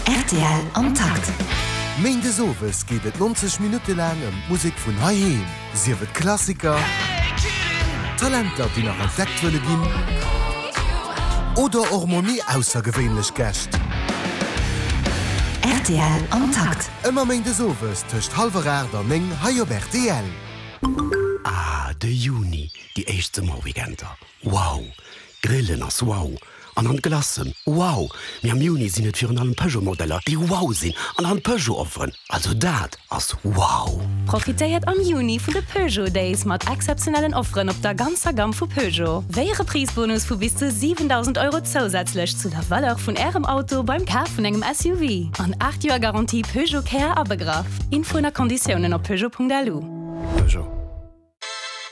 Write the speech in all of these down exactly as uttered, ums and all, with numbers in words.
Rtl am Takt. Méindes owes geet et nonzeg Minutte laang ëm d'Musek vun heiheem. Sief et Klassiker, Talenter, déi nach entdeckt wëlle ginn, oder och mol méi aussergewéinlech Gäscht. Rtl am Takt. Ëmmer méindes owes tëscht hallwer aacht an néng hei op rtl. Ah, de Juni, déi éischt Summerweekender. Wow! Grillen ass wow! An an Glacen, wow! Mee am Juni sinn et virun allem Peugeot-Modeller, déi wow sinn an an Peugeot-Offeren. Also dat ass wow! Profitéiert am Juni vun de Peugeot Days mat exzeptionellen Offeren op der ganzer Gamm vu Peugeot. Wéi e Reprise-Bonus vu bis zu siwendausend Euro zousätzlech zu der Valeur vun Ärem Auto beim Kaf vun engem S U V. An aacht Joer Garantie Peugeot Care abegraff. Infoen a Konditiounen op peugeot Punkt L U. Peugeot.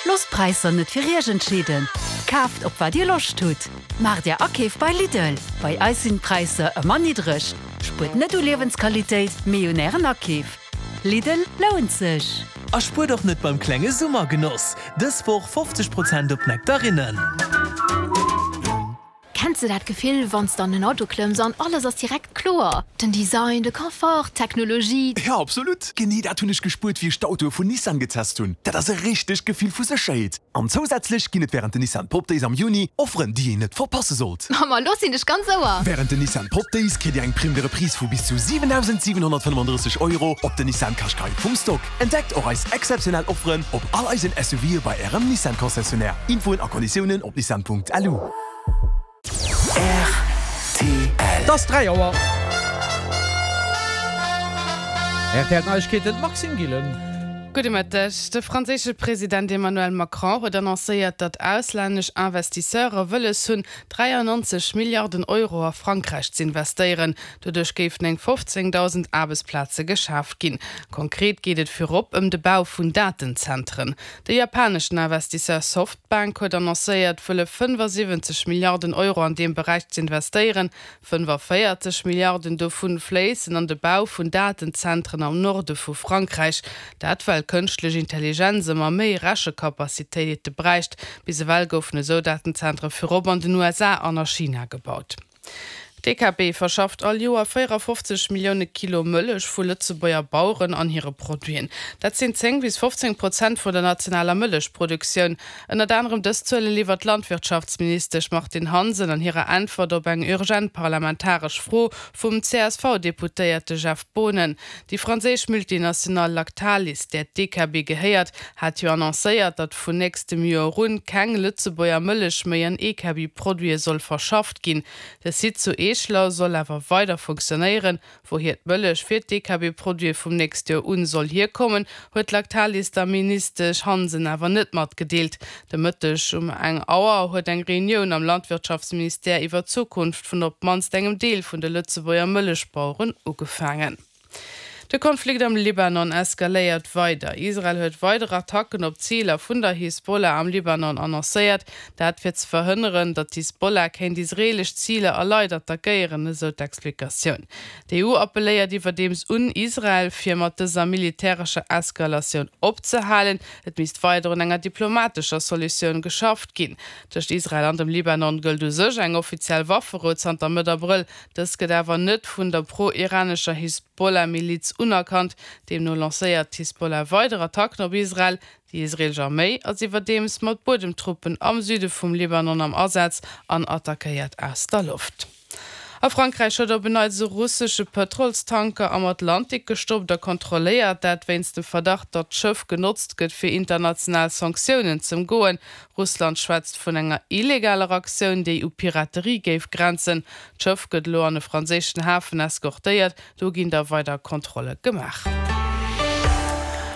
Loosst d'Präisser net fir Iech entscheeden. Kaaft op wat Dir Loscht hutt. Maacht Är Akeef bei Lidl. Bei eis sinn d'Präisser ëmmer niddreg. Spuert net u Liewensqualitéit, mee un Ären Akeef. Lidl lount sech. A spuert och net beim klenge Summergenoss. Dës Woch fofzeg Prozent op Nektarinnen. Kenns de dat Gefill, wann s de an den Auto klëmms an alles ass direkt kloer? Den Design, de Confort, d'Technologie. Ja, absolut. Genee dat hunn ech gespuert, wéi ech d'Autoe vun Nissan getest hunn. Dat ass e richtegt Gefill vu Sécherheet. An zousätzlech ginn et wärend den Nissan Pop Days am Juni Offeren, déi een net verpasse sollt. Mamma, lo sinn ech ganz Ouer. Wärend den Nissan Pop Days kritt Dir eng Prime de Reprise vu bis zu siwendausendsiwenhonnertfënnefandrësseg Euro op den Nissan Qashqai vum Stock. Entdeckt och eis exzeptionell Offeren op all eisen S U Ve bei Ärem Nissan Concessionnaire. Infoen a Konditiounen op nissan Punkt L U. R T L. Et ass dräi Auer. R T L Neiegkeeten, Maxime Gillen. Gudde Mëtteg. De franséische President Emmanuel Macron huet annoncéiert, datt auslännesch Investisseure wëlles hunn, dräiannonzeg Milliarden Euro a Frankräich z'investéieren. Doduerch géifen eng fofzéngdausend Aarbechtsplaze geschaaft ginn. Konkret geet et virop ëm de Bau vun Datenzentren. De japaneschen Investisseur Softbank huet annoncéiert, wëlle fënnefasiwwenzeg Milliarden Euro an deem Beräich z'investéieren. Fënnefavéierzeg Milliarden dovun fléissen an de Bau vun Datenzentren am Norde vu Frankräich. Dat well kënschtlech Intelligenz ëmmer méi Rechekapazitéite bräicht. Bis ewell goufen esou Datenzentre virop an den U S A an a China gebaut. D'E K B verschafft all Joer véierafofzeg Millioune Kilo Mëllech vu Lëtzebuerger Baueren an hire Produiten. Dat sinn zéng bis fofzéng Prozent vun der nationaler Mëllechproduktioun. Ënnert anerem dës Zuele liwwert d'Landwirtschaftsministesch Martine Hansen an hirer Äntwert op eng urgent parlamentaresch Fro vum C S V-Deputéierte Jeff Boonen. Déi franséisch Multinational Lactalis, där d'E K B gehéiert, hat jo annoncéiert, datt vun nächstem Joer un keng Lëtzebuerger Mëllech méi an E K B-Produite soll verschafft ginn. De Site zu Eeschler soll awer weider funktionéieren. Wouhier d'Mëllech fir d'E K B-Produite vum nächste Joer un soll hierkommen, huet Lactalis der Ministesch Hansen awer net matgedeelt. De Mëtteg um eng Auer huet eng Reunioun am Landwirtschaftsministère iwwer d'Zukunft vun op d'mannst engem Deel vun de Lëtzebuerger Mëllechbaueren ugefaangen. De Konflikt am Libanon eskaléiert weider. Israel huet weider Attacken op Ziler vun der Hisbollah am Libanon annoncéiert. Dat fir ze verhënneren, datt d'Hisbollah kéint israeelesch Ziler a Leit attackéieren, esou d'Explikatioun. D'E U appelléiert iwwerdeems un Israel, fir mat dëser militärescher Eskalatioun opzehalen. Et misst weider un enger diplomatescher Solutioun geschafft ginn. Tëscht Israel an dem Libanon gëllt u sech eng offiziell Wafferou zanter Mëtt Abrëll. Dës gëtt awer net vun der pro-iranescher Hisbollah-Miliz unerkannt. Deemno lancéiert d'Hisbollah weider Attacken op Israel. Déi israeelesch Arméi ass iwwerdeems mat Buedemtruppen am Süde vum Libanon am Asaz an attackéiert aus der Loft. A Frankräich huet op en Neits e russesche Pëtrolstanker am Atlantik gestoppt a kontrolléiert, dat wéinst dem Verdacht, datt d'Schëff genotzt gëtt fir international Sanktiounen z'ëmgoen. Russland schwätzt vun enger illegaler Aktioun, déi u Piraterie géif grenzen. D'Schëff gëtt elo an e franséischen Hafen eskortéiert, do ginn da weider Kontrolle gemaach.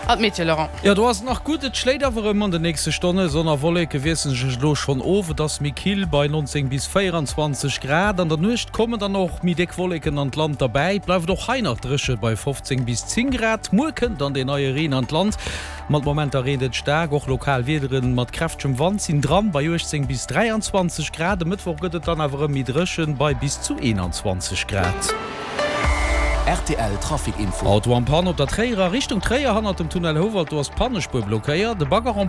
An d'Meteo, Laurent. Jo, do ass et nach gutt, et schléit awer erëm an den nächste Stonne. Sonn a Wolleke wiessele sech elo schonn of, et ass méi kill bei nonzéng bis véieranzwanzeg Grad. An der Nuecht kommen dann och méi déck Wolleken an d'Land derbäi. Et bleift och hei nach dréche bei fofzéng bis zéng Grad. Muer kënnt dann deen neie Reen an d'Land. Mat Momenter reent et staark, och lokal Wiedere mat kräftegem Wand sinn dran bei uechtzéng bis dräianzwanzeg Grad. E Mëttwoch gëtt et dann awer erëm méi dréchen bei bis zu eenanzwanzeg Grad. R T L Trafic Info. Auto en panne op der Tréierer Richtung Tréier hannert dem Tunnel Houwald, do ass d'Pannespuer blockéiert. De Bagger en